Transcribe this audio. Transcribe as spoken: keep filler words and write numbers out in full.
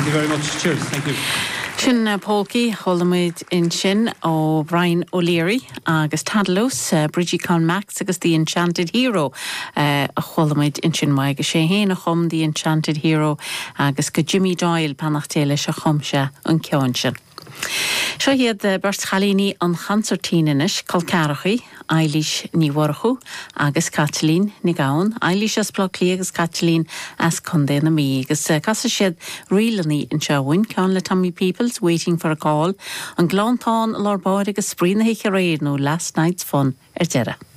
Thank you very much. Cheers. Thank you. Sin uh, polcaí chuala muid ansin ó Brian O'Leary agus Tadalós, uh, Bridgie Con Max agus The Enchanted Hero uh, a chuala muid ansin mai go sé héana chum The Enchanted Hero agus go Jimmy Doyle beannacht Dé leis a chum sé an ceann sin. Seo iad beirt chailíní an chansairtín anois col ceathracha, Eilís Ní Mhurchú agus Caitlín Ní Ghabhann, Eilís as Baile Átha Cliath agus Caitlín as Contae na Mí, agus casfaidh siad ríleanna anseo ceann le Tommy Peoples waiting for a call, an Gleanntán lár báire agus spraoi na hoíche aréir nó last night's fun ar deireadh.